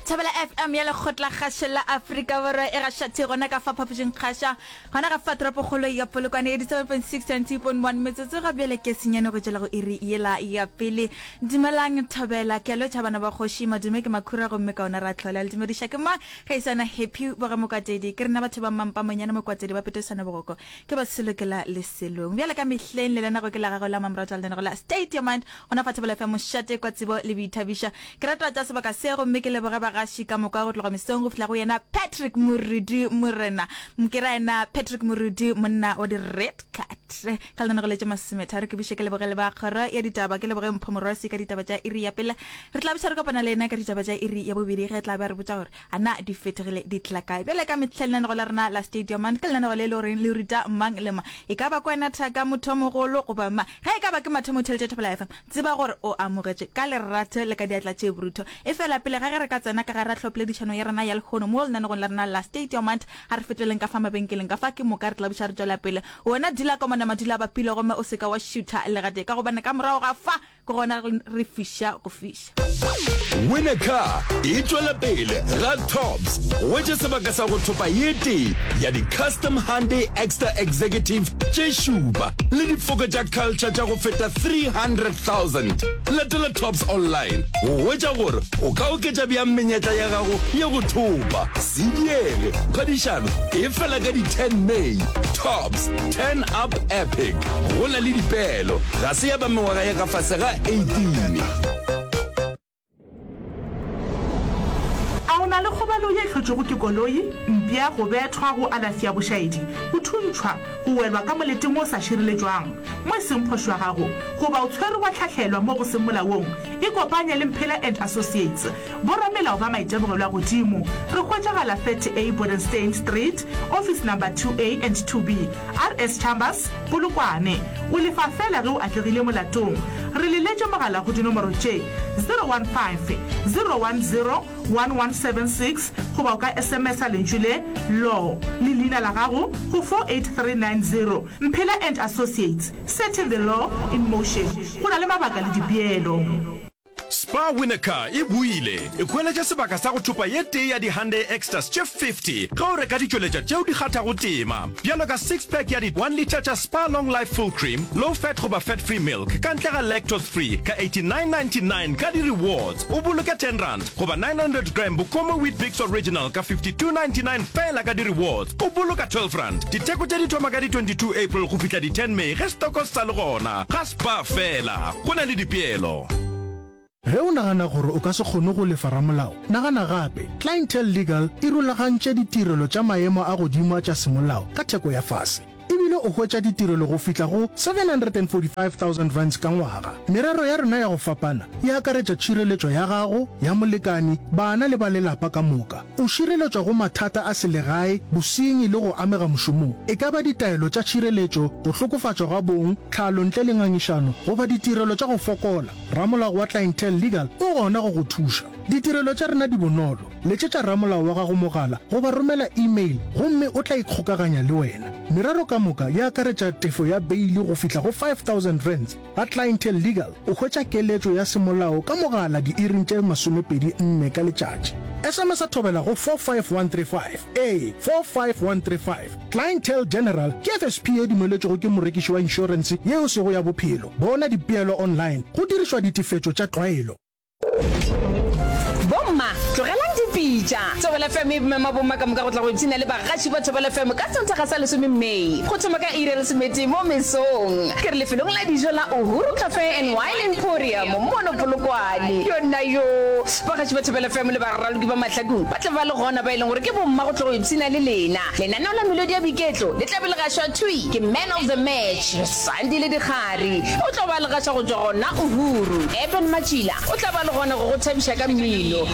Thobela FM ya Lekgotla Kgašo la Afrika Borwa e gaša thwi gona ka fa phapošing kgaša gona ga fa toropokgolo ya Polokwane 87.6 92.1 metsotso ga bjale ke senyane go tšwela go iri yela ya pele. Dumelang Thobela, ke a lotšha bana ba kgoši, madume ke makhura gomme ka ona ra hlola. Le dumediša ke mang ge e sana Happy boga Mokwatedi, ke rena batho ba mampa monyane Mokwatedi ba petosana bogoko ke ba selokela leselong. Bjale ka mehleng le lenago ke la gago la mamratwa lenago la State Your Mind Gona fa Thobela FM mošate kwa tsebo le boithabišo. Ke rata tša sebaka se gomme ke leboge bagaši ka moka go tloga mesong go fihla go yena Patrick Morudi Morena. Ke ra yena Patrick Morudi monna wa di red card. Ka lenanego le tše masometharo ke buše ke leboge le ba kgoro ya ditaba ke leboge Mpho Morwasi ka ditaba tša iri ya pele. Re tla buša re kopana le yena ka ditaba tša iri ya bobedi ge tla be a re botša gore a na di fetogile di tla kae. Bjale ka mehla lenanego la rena la Stadium Man ke lenanego le e le goreng le ruta mang le mang, e ka ba kwena, thaka, mothomogolo goba mang. Ge e ka ba ke mathomo o theeletša Thobela FM, tseba gore o amogetšwe ka lerato le ka diatla tše borutho. Efela pele ga ge re ka tsena ka gare ga hlopoledišano ya rena ya lehono mo lenanegong la rena la State Your Mind, a re feteleng ka fa mabenkeleng ka fa ke moka re tla buša re tšwela pele. Wena dula ka mona madula a bapile gomme o se ka wa šutha le gatee ka gobane ka morago ga fa Ke gona re fiša go fiša. Win a Car e tšwela pele ga Tops. Hwetša sebaka sa go thopa ye tee ya di-Custom Hyundai Exter Executive tše šupa le difoka tša Culture tša go feta 300,000. Latela Tops online go hwetša gore o ka oketša bjang menyetla ya gago ya go thopa. Se diege, phadišano e fela ka di 10 May. Tops, Turn Up Epic. Go na le dipeelo, ga se ya ba mengwaga ya ka fase ga 18. A o na le kgobalo ye e hlotšwego ke koloi, mpša, go bethwa, go alafi ya bošaedi, go thuntšhwa, go welwa ka moleteng wo o sa šireletšwang, mo e seng phošo ya gago, goba o tshwerwe wa hlahlelwa mo go seng molaong? Ikopanye le Mphela and Associates. Boramelao ba maitemogelo a godimo. Re hwetšagala 30A Bodenstein Street, Office Number 2A and 2B, RS Chambers, Polokwane. O lefa feela ge o atlegile molatong. Re leletše mogala go dinomoro tše, 015 010 1176 goba o ka SMS-a lentšu le, Law, le leina la gago go 48390. Mphela and Associates, setting the law in motion. Go na le mabaka le dipeelo. Spar Winnecar e boile, e hweletša sebaka sa go thopa ye tee ya di-Hyundai Exters tše 50 ge o reka ditšweletša tšeo di kgathago tema, bjalo ka six-pack ya di one litre tša Spar Long Life Full Cream, Low Fat goba Fat Free Milk ka ntle ga Lactose Free ka 89.99 ka di-rewards, o boloke ten rand, goba 900 gram Bokomo Weet-Bix Original ka 52.99 feela ka di-rewards, o boloka 12 rand. Ditheko tše di thoma ka di 22 April go fihla di 10 May ge stoko se sa le gona. Ga Spar feela, go na le dipeelo. Ge o nagana gore o ka se kgone go lefa ramolao, nagana gape. Clientele Legal e rulagantše ditirelo tša maemo a godimo a tša semolao ka theko ya fase. E bile o hwetša ditirelo go fihla go R745,000 ka ngwaga. Merero ya rena ya go fapana e akaretša tšhireletšo ya gago, ya molekani, bana le ba lelapa ka moka. O šireletšwa go mathata a selegae, bosenyi le go amega mošomong, e ka ba ditaelo tša tšhireletšo, go hlokofatšwa ga bong, tlhalo ntle le ngangišano, goba ditirelo tša go fokola, ramolao wa Clientele Legal o gona go go thuša. Ditirelo tša rena di bonolo, letšetša ramolao wa gago mogala goba romela email gomme o tla ikgokaganya le wena. Merero ka moka e akaretša tefo ya beili go fihla go R5000. Ga Clientele Legal o hwetša keletšo ya semolao ka mogala diiring tše 24 ka letšatši. SMS-a thobela go 45135, ee, 45135. Clientele General ke FSP ye dumeletšwego ke morekiši wa inšorense ye e sego ya bophelo. Bona dipeelo online go dirišwa ditefetšo tša tlwaelo. Bomma, tlogelang dipitša! Thobela FM e mema bomma ka moka go tla go ipshina le bagaši ba Thobela FM ka Sontaga sa lesome May go thoma ka iri ya lesometee mo mesong. Ke re lefelong la dijo la Uhuru Cafe and Wine Emporium mono Polokwane. Yonna yoo! Bagaši ba Thobela FM le baraloki ba mahlakong ba tla ba le gona ba e leng gore ke bomma go tlo go ipshina le lena. Lenaneo la Melodi ya Boiketlo le tla be le gašwa thwi ke Man of the Match, Sandile Dikgari. O tlo ba le gaša go tšwa gona Uhuru. Eben Matšila o tla ba le gona go go thabiša ka mmino.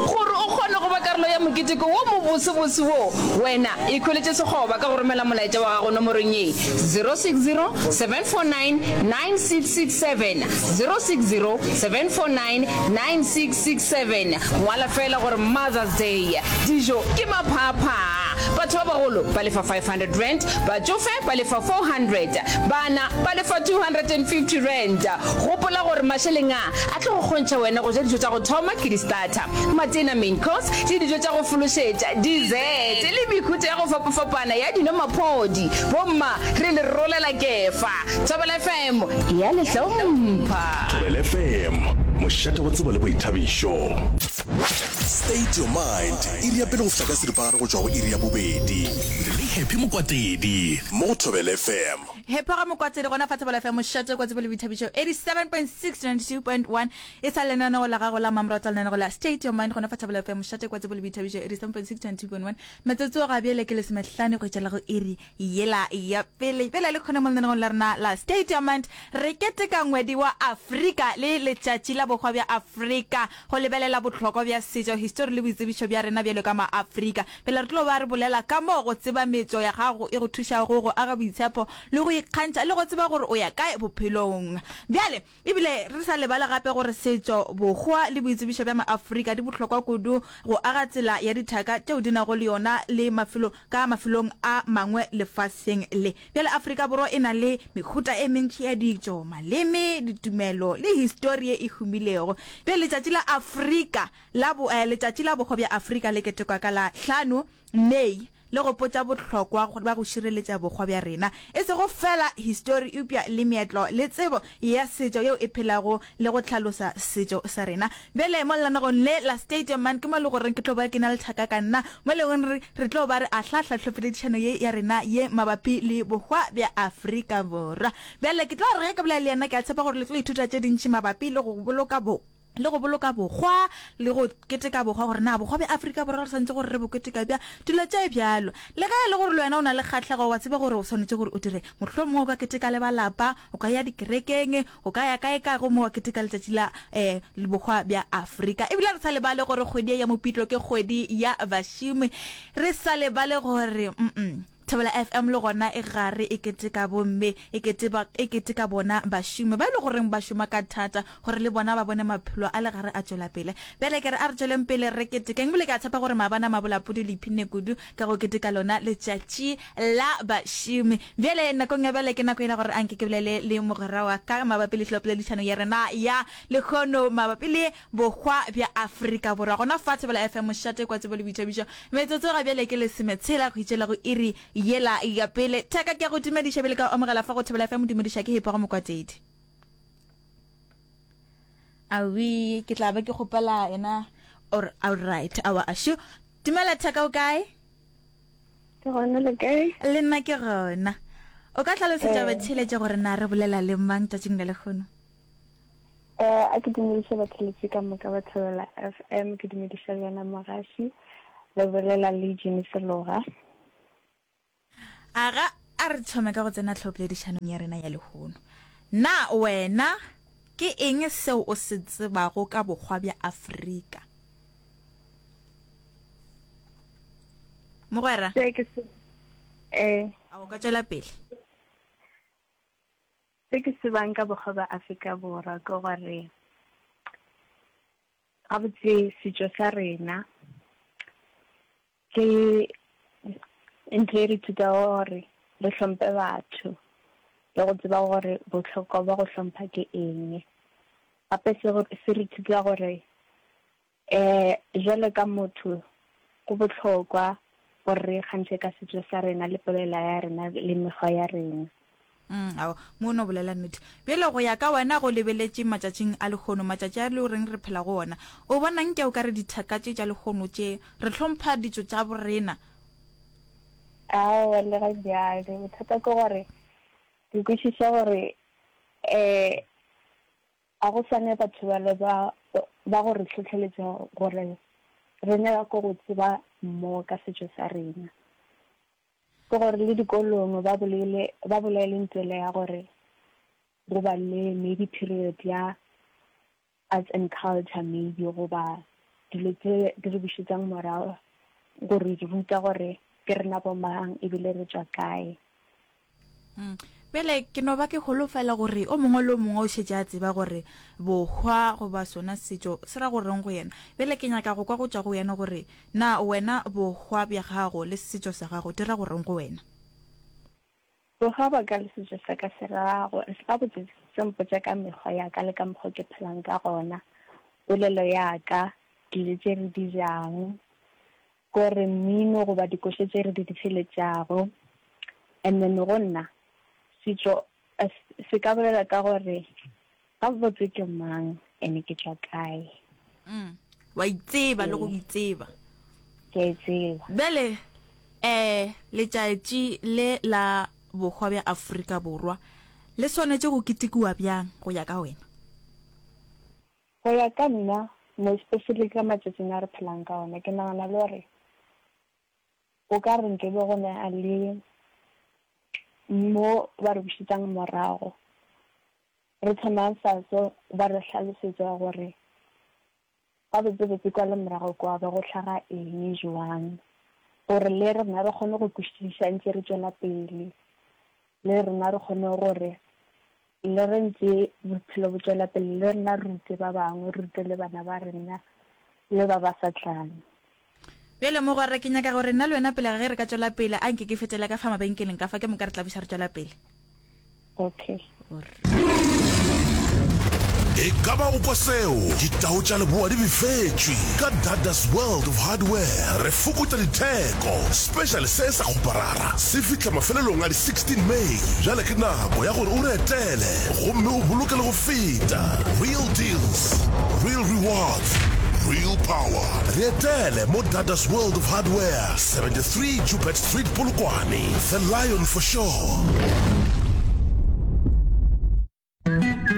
Gore o kgone go ba karolo ya. ya moketeko wo mobosebose wo, wena ikhweletše sekgoba ka go romela molaetša wa gago nomorong ye, 060 749 9667, 060 749 9667. Ngwala feela gore Mother's Day. Dijo ke maphaaphaa. Batho ba bagolo ba lefa R500, batšofe ba lefa R400, bana ba lefa R250. Gopola gore mašeleng a a tlo go kgontšha wena go ja dijo tša go thoma ke di-starter, matena, main course, le dijo tša go fološetša, dessert, le mehuta ya go fapafapana ya dino maphodi. Bomma, re le rolela kefa. Thobela FM e a le hlompha. Thobela FM, mošate wa tsebo le boithabišo. State your mind, iri ya pele go fihla ka seripagare go tšwa go iri ya bobedi. Le Happy Mokwatedi mo go Thobela FM. Happy ga Mokwatedi gona fa Thobela FM, mošate wa tsebo le boithabišo 87.6 92.1 e sa lenaneo la gago la mmamoratwa lenaneo la State your mind gona fa Thobela FM, mošate wa tsebo le boithabišo 87.6 92.1 metsotso ga bjale ke lesomehlano go tšwela go iri Yela ya pele bjale le kgone mo lenaneong la rena la State Your Mind re keteka ngwedi wa Afrika le letšatši la bohwa bja Afrika go lebelela bohlokwa bja setšo, histori le boitsebišo bja rena bjalo ka maAfrika. Pele re tlo ba re bolela ka moo go tseba metšo ya gago e go thušago go aga boitshepo le go ikgantšha le go tseba gore o ya kae bophelong. Bjale E bile re sa lebale gape gore setšo, bohwa le boitsebišo bja maAfrika di bohlokwa kudu go aga tsela ya dithaka tšeo di nago le yona le mafelo ka mafelong a mangwe lefaseng le. Bjale Afrika Borwa e na le mehuta e mentši ya ditšo, maleme, ditumelo le histori ye e humilego. Bjale letšatši la Afrika la bo, Letšatši la Bohwa bja Afrika le ketekwa ka la hlano May le gopotša bohlokwa bja go šireletša bohwa bja rena, e sego feela histori eupša le meetlo le tsebo ya setšo yeo e phelago le go hlalosa setšo sa rena. Bjale mo lenaneong le la State Your Mind ke mo e le goreng ke tlo ba ke na le thaka ka nna mo e lego gore re tlo ba re ahlaahla tlhopheledišano ye ya rena ye mabapi le bohwa bja Afrika Borwa. Bjale ke tlo re ge ke bolela le yena ke a tshepa gore le tlo ithuta tše dintši mabapi le go boloka bo le go boloka bohwa le go keteka bohwa gore na bohwa bja Afrika Borwa re swanetše gore re bo keteka bjang, dilo tše bjalo. Le ge e le gore le wena o na le kgahlego, wa tseba gore o swanetše gore o dire, mohlomongwe o ka keteka le ba lapa, o ka ya dikerekeng, o ka ya kae kae gomme wa keteka letšatši la um bohwa bja Afrika. Ebile re sa lebale gore kgwedi ye ya Mopitlo ke kgwedi ya bašomi, re sa lebale gore mm Thobela FM le gona e gare e keteka bomme, e keteba, e keteka bona bašomi ba e le goreng ba šoma ka thata gore le bona ba bone maphelo a le gare a tšwela pele. Bjale ke re a re tšweleng pele re ketekeng ebile ke a tshepa gore maabane a mabolapudi le iphinne kudu ka go keteka lona letšatši la bašomi. Bjale nakong ya bjale ke nako yela gore anke ke bolele le mogwera wa ka mabapi le hlopoledišano ya rena ya lehono mabapi le Bohwa bja Afrika Borwa. Gona fa Thobela FM mošate kwa tsebo le boithabišo. Metsotso ga bjale ke lesometshela go itšela go iri yela ya pele. Thaka ke a go dumediša bjale ka go amogela fa go Thobela FM dumediša ke Hepago Mokwatedi. Awi ke tla ba ke kgopela yena or all right awa ashu. Dumela Thaka o kae? Ke gona le kae? Le nna ke gona. O ka hlalosetša batheeletši gore na re bolela le mang tšatšing la lehono? Eh, a ke dumediše batheletši ka moka ba Thobela FM, ke dumediša le wena mogaši, le bolela le Jimmy Seloga. Aga, a re thome ka go tsena tlhopoledišanong ya rena ya lehono. Na wena ke eng seo o se tsebago ka bokgwa bja Afrika? Mogwera? Se ke se eh. A o ka tšwela pele? Se ke se tsebang ka bokgwa bja Afrika Borwa ke gore gabotse setšo sa rena ke ntho e re thutago gore re hlomphe batho le go tseba gore bohlokwa bja go hlompha ke eng. Gape se re thuta gore Um Bjalo ka motho, go bohlokwa gore re ikgantšhe ka setšo sa rena le polela ya rena le mekgwa ya rena. Mm, ao, mo o no bolela nnete. Bjale go ya ka wena go lebeletše matšatšing a lehono, matšatši a le goreng re phela go ona, o bona nke o ka re dithaka tše tša lehono tše, re hlompha ditšo tša borena? Aowa, le ga bjale. Bothata ke gore ke kwešiša gore um Ga go swane batho bale ba ba go re hlohleletša gore re nyaka go tseba more ka setšo sa rena. Ke gore le dikolong ba bolele ba bolele ntwele ya gore go ba le maybe period ya arts and culture maybe goba dilo tse di re bušetšang morago. go re ruta gore ke rena bo mang ebile re tšwa kae. Mm. Bjale ke no ba ke holofela gore o mongwe le o mongwe o šetše a tseba gore bohwa goba sona setšo se ra go reng go yena. Bjale ke nyaka go kwa go tšwa go yena gore na wena bohwa bja gago le setšo sa gago di ra go reng go wena. Bohwa bja ka le setšo sa ka se ra gore gabotse se mpotša ka mekgwa ya ka le ka mokgwa ke phelang ka gona, polelo ya ka, dijo tše re di jang, Ko re mmino goba dikoša tše re di theeletšago. And then go nna, setšo se ka bolela ka gore gabotse ke mang and ke tšwa kae. Mm. Wa itseba le go itseba. Ke a itseba. Bjale, eh, letšatši le la bohwa bja Afrika Borwa le swanetše go ketekiwa bjang go ya ka wena? Go ya ka nna, mo especially ka matšatšing a re phelang ka ona, ke nagana le gore o ka re nke be go na le mo ba re bušetšang morago, re thoma fase ba re hlalosetša gore gabotsebotse kwa le morago kwa be go hlaga eng jwang, gore le rena re kgone go kwešiša ntše re tšwela pele, le rena re kgone gore Le ge ntše bophelo bo tšwela pele, le rena re rute ba bangwe, re rute le bana ba rena le ba ba sa tlang. Bjale, mogwera, ke nyaka gore nna le wena pele ga ge re ka tšwela pele, a nke ke fetele ka fa mabenkeleng ka fa, ke moka re tla buša re tšwela pele. Okay. E ka ba o kwa seo? Ditau tša leboa di befetšwe. Ka Dada's World of Hardware re fokotša ditheko. Special se sa kgoparara se fihla mafelelong a di 16 May. Bjale ke nako ya gore o re etele gomme o boloke le go feta. Real deals, real rewards, real power. Re etele mo Dada's World of Hardware, 73 Joubert Street, Polokwane. The Lion for sure.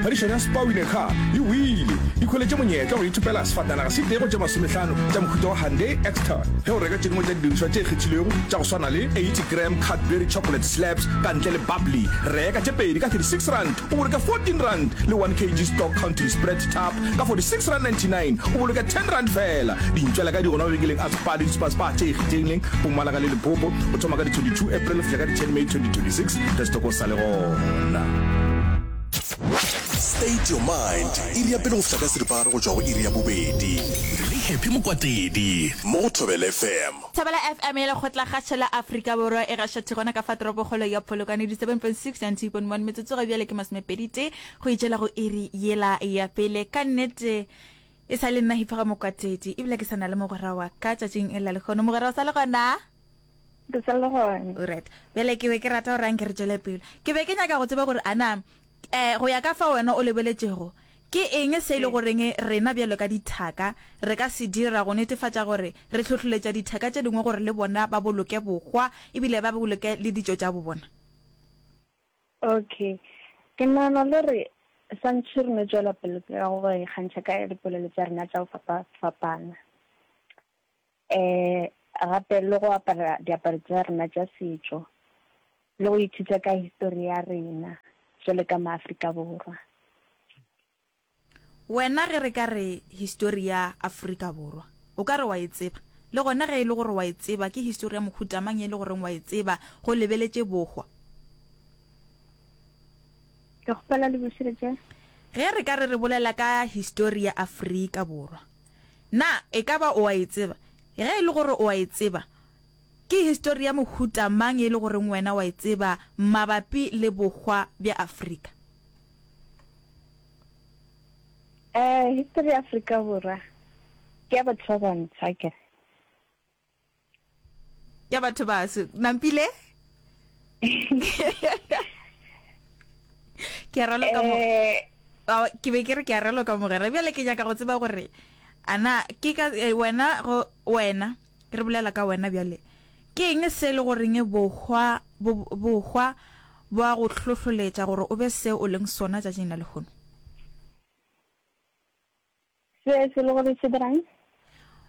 Phadišano ya Spar Win a Car e wile. Ikhweletše monyetla wa go ithopela sefatanaga se tee go tše masomehlano tša mohuta wa Hyundai Exter ge o reka tše dingwe tša didirišwa tše kgethilwego tša go swana le 80 gram Cadbury Chocolate Slabs ka ntle le bubbly. Reka tše pedi ka R36 o boloke R14 le 1 kg Stock Country Spread Tub ka R46.99 o boloke R10 feela. Dintšwela ka di gona mabenkeleng a Spar le di-Spar-Spar tše ikgethileng Mpumalanga le Limpopo go thoma ka di 22 April go fihla ka di 10 May 2026 ge setoko sa le gona. State your mind, iri ya pele go fihla ka seripagare go tšwa go iri ya bobedi. Le Happy Mokwatedi mo go Thobela FM. Thobela FM ya Lekgotlakgašo la Afrika Borwa e gaša thwi gona ka fa toropokgolo ya Polokwane di 7.6 90.1 metsotso ga bjale ke masomepedi-tee go itšela go iri yela ya pele. Ka nnete e sa le nna Hiphoga Mokwatedi ebile ke sa na le mogwera wa ka tšatšing la lehono. Mogwera o sa le gona? Ke sa le gona. Alright. Bjale ke be ke rata gore anke re tšwele pele. Ke be ke nyaka go tseba gore ana eh go ya ka fa wena o lebeletšego, ke eng se e le goreng rena bjalo ka dithaka re ka se dira go netefatša gore re hlohloletša dithaka tše dingwe gore le bona ba boloke bohwa ebile ba boloke le ditšo tša bobona? Okay. Ke nagana le gore santši re no tšwela pele ka go ikgantšha ka dipolelo tša rena tša go fapafapana. Um gape le go apara diaparo tša rena tša setšo le go ithuta ka histori ya rena jwalo ka maAfrika Borwa. Wena ge re ka re histori ya Afrika Borwa, o ka re wa e tseba? Le gona ge e le gore wa e tseba, ke histori ya mohuta mang e le goreng wa e tseba go lebeletše bohwa? Ke kgopela le bušeletše. Ge re ka re re bolela ka histori ya Afrika Borwa, Na e ka ba o a e tseba? Ge e le gore o a e tseba, ke histori ya mohuta mang e le goreng wena wa e tseba mabapi le bohwa bja Afrika? Eh, histori ya Afrika Borwa ke ya batho ba bantsho, akere? Ya batho baso. Nampile? Ke a raloka mo. Eh, Ao, ke be ke re ke a raloka mogwera. Bjale ke nyaka go tseba gore ana ke ka eh, wena go wena re bolela ka wena bjale. Ke eng se le goreng bohwa bo, bohwa bo a go hlohloletša gore o be se o leng sona tšatšing la lehono? Se se le gore se dirang?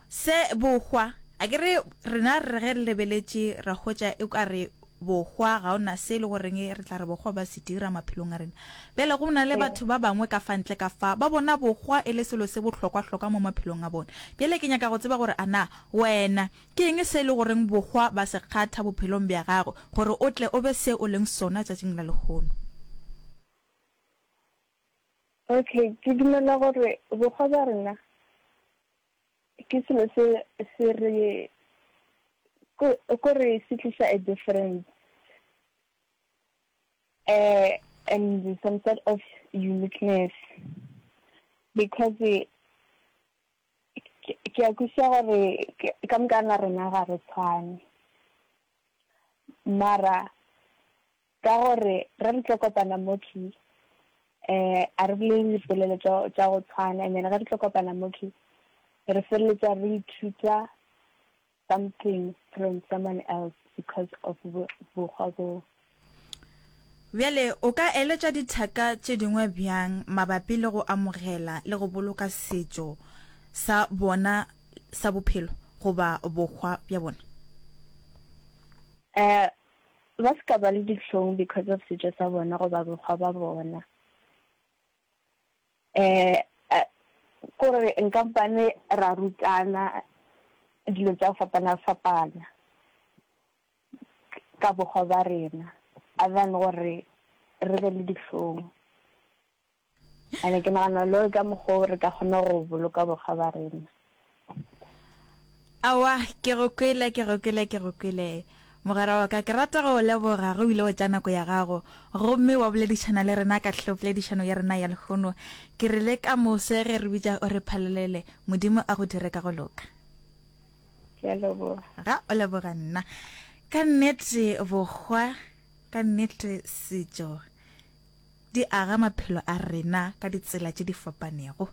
Se bohwa, a ke re rena re ge re lebeletše ra hwetša e ka re bohwa ga ona se e le goreng re tla re bohwa ba se dira maphelong a rena. Bjale go na le batho ba bangwe ka fa ntle ka fa ba bona bohwa e le selo se bohlokwa-hlokwa mo maphelong a bona. Bjale ke nyaka go tseba gore a na wena ke eng se e le goreng bohwa ba se kgatha bophelong bja gago gore o tle o be se o leng sona tšatšing la lehono. Okay, ke dumela gore bohwa bja rena ke selo se se re ko re se tliša a difference uh, and some sort of uniqueness because ke a kwešiša gore ka moka ga rena ga re tshwane mara Ka gore ge re tlo kopana mo thwi, um a re bolele dipolelo tša go tshwana, and then ge re tlo kopana mo thwi, re feleletša re ithuta something from someone else because of bokgwa boo. Bjale o ka eletša dithaka tše dingwe bjang mabapi le go amogela le go boloka setšo sa bona sa bophelo goba bokgwa bja bona? Um Ba se ka ba le dihlong because of setšo sa bona goba bokgwa ba bona. Um kore nkampane ra rutana dilo tša go fapana-fapana ka bokgwa ba rena other than gore re be le dihlong. Ene ke nagana lo ka mokgwa re ka kgona go boloka bokgwa ba rena. Aowa, ke go kwele, ke go kwele, ke go kwele. Mogwera wa ka, ke rata go o leboga ge o ile wa tša nako ya gago gomme wa boledišana le rena ka hlopoledišano ya rena ya lehono. Ke re le ka moso ge re bitša o re phalolele, Modimo a go dire ka go loka. Ke a leboga. Ga o leboga nna. Ka nnete bokgwa, ka nnete setšo. Di aga maphelo a rena ka ditsela tše di fapanego.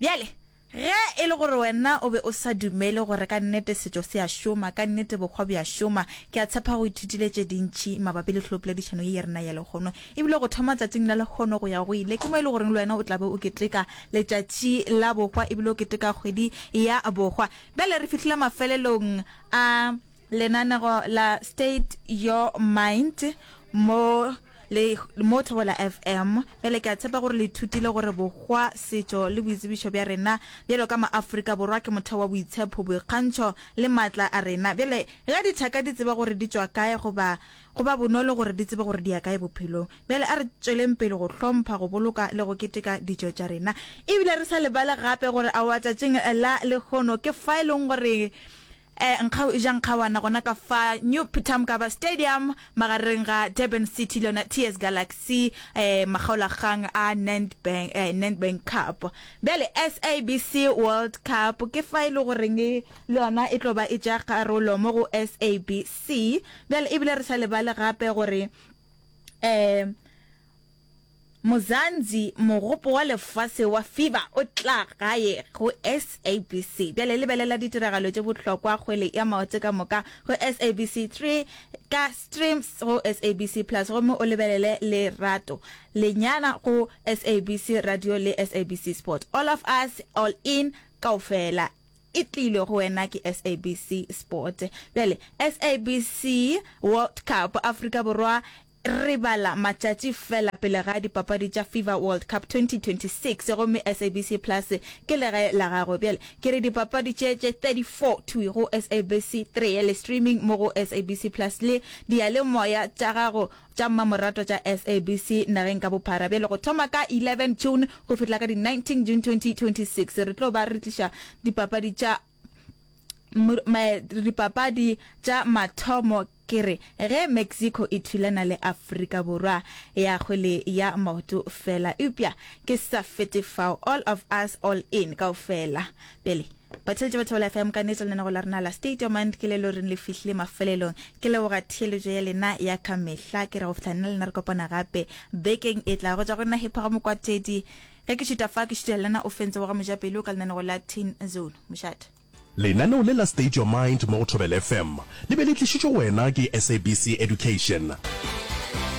Bjale, ge e le gore wena o be o sa dumele gore ka nnete setšo se a šoma, ka nnete bokgwa bo a šoma, ke a tshepa go ithutile tše dintši mabapi le hlopoledišano ye ya rena ya lehono. E bile go thoma tšatšing la lehono go ya go ile, ke mo e le goreng le wena o tla be o keteka letšatši la bokgwa e bile o keteka kgwedi ya bokgwa. Bjale re fihlile mafelelong a Lenanego la State Your Mind mo le mo Thobela FM. Bjale ke a tshepa gore le ithutile gore bohwa, setšo le boitsebišo bja rena bjalo ka maAfrika Borwa ke motheo wa boitshepho, boikgantšho le maatla a rena. Bjale ge dithaka di tseba gore di tšwa kae goba go ba bonolo gore di tsebe gore di ya kae bophelong. Bjale a re tšweleng pele go hlompha, go boloka le go keteka ditšo tša rena. Ebile re sa lebale gape gore aowa tšatšing la lehono ke fa e leng gore Nkgau e ja nkgawana gona ka fa New Peter Mokaba Stadium magareng ga Durban City le yona TS Galaxy makgaolakgang a Nedbank, Nedbank Cup. Bjale SABC World Cup ke fa e le goreng le yona e tlo ba e tšea karolo mo go SABC. Bjale ebile re sa lebale gape gore um Mzansi, Mogopo wa Lefase wa FIBA o tla gae go SABC. Bjale lebelela ditiragalo tše bohlokwa kgwele ya maoto ka moka go SABC 3 ka streams go SABC Plus gomme o lebelele Lerato Lenyana go SABC Radio le SABC Sport. All of us, all in, kaofela e tlilwe go wena ke SABC Sport. Bjale SABC World Cup, Afrika Borwa Re bala matšatši fela pele ga dipapadi tša FIFA World Cup 2026 gomme SABC Plus ke legae la gago. Bjale ke re dipapadi tše tše 34 thwi go SABC 3 le streaming mo go SABC Plus le diyalemoya tša gago tša mmamoratwa tša SABC nageng ka bophara. Bjale go thoma ka 11 June go fihla ka di 19 June 2026 re tlo ba re tliša dipapadi tša Dipapadi tša mathomo ke re ge Mexico e thulana le Afrika Borwa ya kgwele ya maoto fela, eupša ke sa fete fao, all of us all in kaofela. Bjale batheeletši ba Thobela FM, ka nnete lenanego la rena la State Your Mind ke le lo reng le fihlile mafelelong. Ke leboga theeletšo ya lena ya ka mehla, ke re go fihla nna le lena re kopana gape bekeng e tlago. Go tšwa go nna Hippo ga Mokwatedi. Ge ke šuta fa, ke šutela lena o fentse wa ga Mojapelo ka lenanego la Teen Zone. Mošate. Lenaneo le la State Your Mind mo go Thobela FM le be le tlišitšwe go wena ke SABC Education.